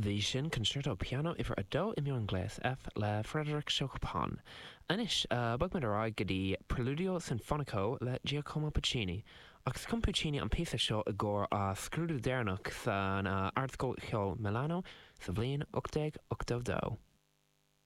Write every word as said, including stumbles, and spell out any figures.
Bhí sin Concerto Piano uimhir a dó i miongléas F le Frédéric Chopin. Anois bogfaimid ar aghaidh go dtí Preludio Sinfonico le Giacomo Puccini. Agus chum Puccini an píosa seo i gcomhair a scrúdú deireanach san Ardscoil Cheoil Milano sa bhliain ocht déag ochtó dó.